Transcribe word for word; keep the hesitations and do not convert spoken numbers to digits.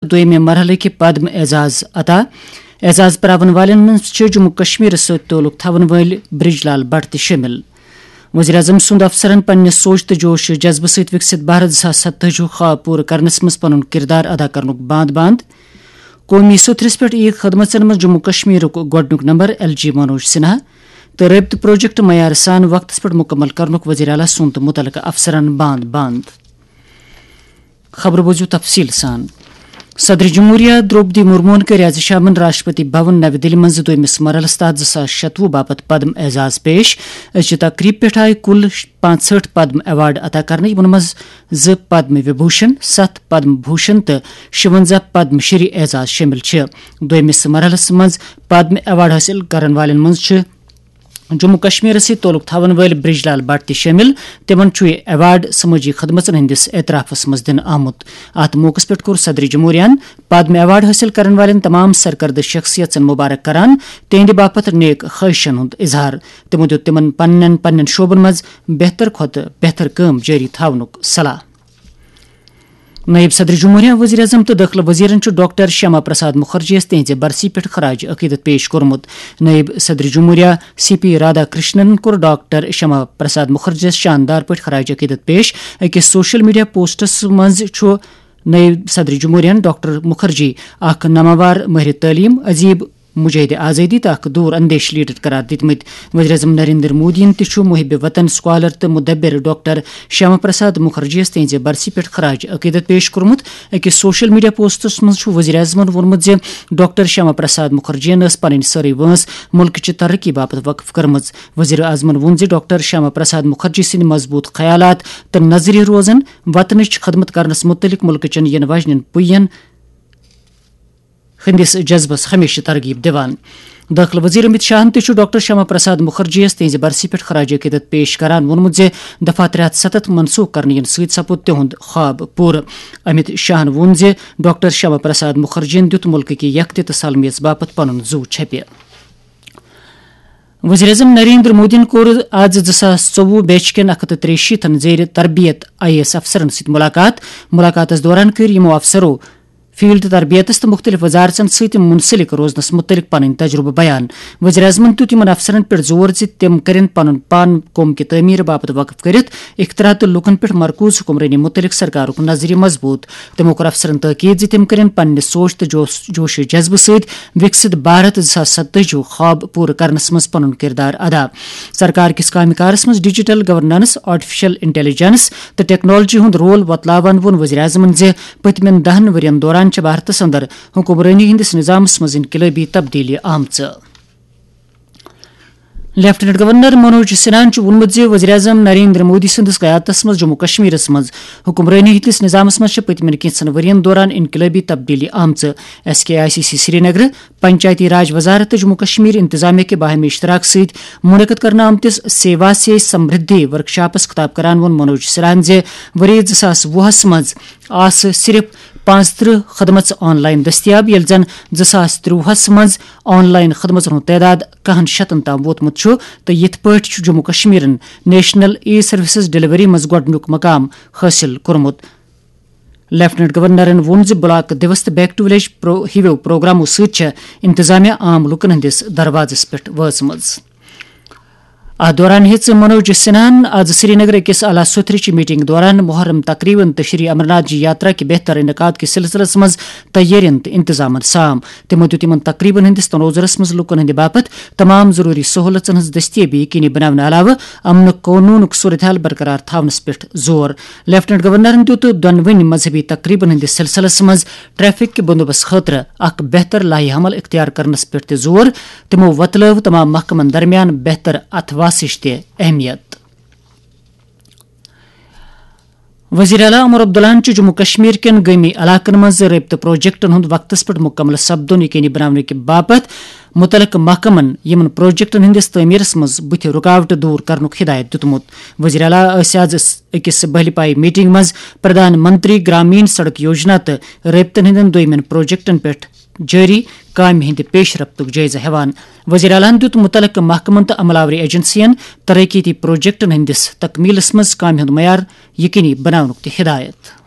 دوٚیمہِ مرحلٕکۍ پدم اعزاز عطا۔ اعزاز پراون والٮ۪ن منٛز چھِ جموں کشمیرس سۭتۍ تعلق تھاون وٲلۍ برج لال بٹ تہِ شٲمِل۔ وزیر اعظم سُنٛد افسرن پننہِ سوچ تہٕ جوش و جذبہٕ سۭتۍ وِکسِت بھارت زٕ ساس ستٲجی خواب پوٗرٕ کرنس منٛز پنُن کردار ادا کرنُک باند باند۔ قومی سوٚتھرِس پٮ۪ٹھ یِیہِ خدمژن منٛز جموں کشمیرُک گۄڈٕنیُک number L G Manoj Sinha تہٕ رٲبطہٕ پروجیکٹ معیار سان وقتس پٮ۪ٹھ مکمل کرنُک وزیر اعلیٰ سُنٛد تہٕ متعلقہٕ افسرن باند باند۔ خبرٕ بوٗزِو تفصیٖل سان۔ صدر جمہوریہ درٛوپدی مرموہن کٔر از شامن راشٹرپتی بھون نَوِ دِلہِ منٛز دوٚیمِس مرحلس تحت زٕ ساس شتوُہ باپتھ پدم اعزاز پیش۔ أزچہِ تقریٖب پٮ۪ٹھ آیہِ کُل پانٛژہٲٹھ پدم ایوارڈ عطا کرنہٕ، یِمن منٛز زٕ پدم وبھوشن، ستھ پدم بھوشن تہٕ شُونٛزاہ پدم شری اعزاز شٲمِل چھِ۔ دوٚیمِس مرحلس منٛز پدم ایوارڈ حٲصِل کرن والٮ۪ن منٛز چھِ جموں کشمیرس سۭتۍ تعلق تھاون وٲلۍ برج لال بٹ تہِ شٲمِل۔ تِمن چھُ یہِ ایوارڈ سمٲجی خدمژن ہٕنٛدِس اعترافس منٛز دِنہٕ آمُت۔ اتھ موقعس پٮ۪ٹھ کوٚر صدر جمہوریہن پدم ایوارڈ حٲصِل کرن والٮ۪ن تمام سرکردٕ شخصیژن مبارک کران تِہنٛدِ باپتھ نیک خواہشن ہُنٛد اظہار۔ تِمو دیُت تِمن پننٮ۪ن پننٮ۪ن شعبن منٛز بہتر کھۄتہٕ بہتر کٲم جٲری تھاونُک صلاح۔ نائب صدر جمہوریہ، وزیر اعظم تہٕ دٲخلہٕ وزیرن چھُ ڈاکٹر شیاما پرساد مکھرجیَس تِہنٛزِ برسی پٮ۪ٹھ خراج عقیدت پیش کوٚرمُت۔ نائب صدر جمہوریہ سی پی رادھا کرشنن کوٚر ڈاکٹر شیاما پرساد مکھرجیَس شاندار پٲٹھۍ خراج عقیدت پیش۔ أکِس سوشل میڈیا پوسٹس منٛز چھُ نائب صدر جمہوریہن ڈاکٹر مکھرجی اکھ نامور مٲہرِ تعلیٖم، ادیب، مجاہد آزادی تہٕ اکھ دوٗر اندیش لیڈر قرار دِتمٕتۍ۔ وزیر اعظم نریندر مودیَن تہِ چھُ محب وطن، سکالر تہٕ مدبر ڈاکٹر شیاما پرساد مکھرجیَس تِہنٛزِ برسی پٮ۪ٹھ خراج عقیدت پیش کوٚرمُت۔ أکِس سوشل میڈیا پوسٹس منٛز چھُ وزیر اعظمَن ووٚنمُت زِ ڈاکٹر شیاما پرساد مکھرجیَن ٲس پنٕنۍ سٲرٕے وٲنٛس مُلکٕچہِ ترقی باپتھ وقف کٔرمٕژ۔ وزیر اعظمَن ووٚن زِ ڈاکٹر شیاما پرساد مکھرجی سٕنٛدۍ مضبوٗط خیالات تہٕ نظریہٕ روزن وطنٕچ خدمت کرنس مُتعلق مُلکٕچٮ۪ن یِنہٕ واجنٮ۪ن پُیَن ہٕنٛدِس جذبس ہمیشہٕ ترغیب دِوان۔ دٲخلہٕ وزیر امت شاہن تہِ چھُ ڈاکٹر شیاما پرساد مکھرجیَس تِہنٛزِ برسی پٮ۪ٹھ خراج عقیدت پیش کران ووٚنمُت زِ دفعہ ترٛےٚ ہتھ ستتھ منسوخ کرنہٕ یِنہٕ سۭتۍ سپُد تِہُنٛد خواب پوٗرٕ۔ امت شاہن ووٚن زِ ڈاکٹر شیاما پرساد مکھرجیَن دیُت مُلکہٕ کہِ یکتہِ تہٕ سالمیت باپتھ پنُن زُو چھپہِ۔ وزیر اعظم نریندر مودیَن کوٚر آز زٕ ساس ژوٚوُہ بیچ کٮ۪ن اکھ ہتھ تہٕ ترٛیہِ شیٖتن زیر تربیت آئی اے ایس افسرن سۭتۍ ملاقات۔ ملاقاتس دوران کٔرۍ یِمو افسرو فیلڈ تربیتس تہٕ مُختٔلِف وزارژن سۭتۍ منسلک روزنس مُتعلق پنٕنۍ تجربہٕ بیان۔ وزیر اعظمن دیُت یِمن افسرن پٮ۪ٹھ زور زِ تِم کٔرِن پنُن پان قوم کہِ تعمیٖر باپتھ وقف کٔرِتھ اختراع تہٕ لوٗکن پٮ۪ٹھ مرکوز حکمرٲنی مُتعلق سرکارُک نظریہ مضبوٗط۔ تِمو کوٚر افسرن تاکید زِ تِم کٔرِن پننہِ سوچ تہٕ جوش، جوش و جذبہٕ سۭتۍ وِکسِت بھارت زٕ ساس ستٲجی خواب پوٗرٕ کرنس منٛز پنُن کردار ادا۔ سرکار کِس کامہِ کارس منٛز ڈیجیٹل گورننس، آرٹیفیشل انٹیلیجنس تہٕ ٹیکنالوجی ہُنٛد رول وۄتلاوان ووٚن وزیر اعظمن زِ پٔتمٮ۪ن دَہَن ؤرین دوران چھِ بھارتس اندر حکمرٲنی ہٕنٛدِس نظامس منٛز انقلٲبی تبدیلی آمژٕ۔ لیفٹیننٹ گورنر منوج سنہاہن چھُ ووٚنمُت زِ وزیر اعظم نریندر مودی سٕنٛدِس قیادتس منٛز جموں کشمیرس منٛز حکمرٲنی ہٕنٛدِس نظامس منٛز چھِ پٔتمٮ۪ن کینٛژن ؤرین دوران انقلٲبی تبدیلی آمژٕ۔ S K I C C Srinagar, Panchayati Raj وزارت تہٕ جموں کشمیر انتظامیہ کہِ باہمی اشتراک سۭتۍ منعقد کرنہٕ آمتِس سیوا سے سمردھی ورکشاپس خطاب کران ووٚن منوج سنہاہن زِ ؤری زٕ ساس وُہس منٛز آسہٕ صرف پانٛژترٕہ خدمژٕ آن لائن دٔستیاب، ییٚلہِ زن زٕ ساس ترٛۆوُہس منٛز آن لائن خدمژن ہُنٛد تعداد کاہن شتن تام ووتمُت چھُ تہٕ یِتھ پٲٹھۍ چھُ جموں کشمیرن نیشنل ای سروسز ڈیلیوری منٛز گۄڈٕنیُک مقام حٲصِل کوٚرمُت۔ لیفٹیننٹ گورنرن ووٚن زِ بلاک دیوس تہٕ بیک ٹو ولیج پرو-، ہِویو پروگرامو سۭتۍ چھےٚ انتظامیہ عام لوٗکن ہٕنٛدِس دروازس پٮ۪ٹھ وٲژمٕژ۔ اتھ دوران ہیٚژ منوج سنہاہن از سرینگر أکِس اعلیٰ سوٚتھرٕچہِ میٹنگ دوران محرم تقریبن تہٕ شری امرناتھ جی یاترا کہِ بہتر انعقاد کِس سلسلس منٛز تیٲرین تہٕ انتظامن سام۔ تِمو دیُت یِمن تقریبن ہٕنٛدِس تنوظرس منٛز لوٗکن ہٕنٛدِ باپتھ تمام ضروٗری سہولژن ہٕنٛز دٔستیٲبی یقینی بناونہٕ علاوٕ امنُک قونوٗنُک صورتحال برقرار تھاونس پٮ۪ٹھ زور۔ لیفٹیننٹ گورنرن دیُت دۄنوٕنی مذہبی تقریبن ہٕنٛدِس سلسلس منٛز ٹریفک کہِ بندوبست خٲطرٕ اکھ بہتر لائحہ عمل اختیار کرنس پٮ۪ٹھ تہِ زور۔ تِمو وۄتلٲو تمام محکمن درمیان بہتر اتھہٕ واسٕچ تہِ اہمیت۔ وزیر اعلیٰ عمر عبداللہن چھُ جموں کشمیر کٮ۪ن گٲمی علاقن منٛز رٲبطہٕ پروجیکٹن ہُنٛد وقتس پٮ۪ٹھ مُکمل سپدُن یقینی بناونہٕ کہِ باپتھ مُتعلقہٕ محکمن یِمن پروجیکٹن ہٕنٛدِس تعمیرس منٛز بُتھِ رُکاوٹہٕ دوٗر کرنُک ہدایت دِیُتمُت۔ وزیر اعلیٰ ٲسۍ آز أکِس بہلہِ پایہِ میٹنگ منٛز پردھان منتری گرامین سڑک یوجنا تہٕ رٲبطن ہٕنٛدٮ۪ن دوٚیمٮ۪ن پروجیکٹن پٮ۪ٹھ جٲری کامہِ ہٕنٛدِ پیش رفتُک جٲیزٕ ہٮ۪وان۔ وزیر اعلیٰ ہَن دیُت مُتعلقہٕ محکمَن تہٕ عملہٕ آوری ایجنسیَن ترقیتی پروجیکٹَن ہٕنٛدِس تکمیلَس منٛز کامہِ ہُنٛد معیار یقینی بناونُک تہِ ہدایت۔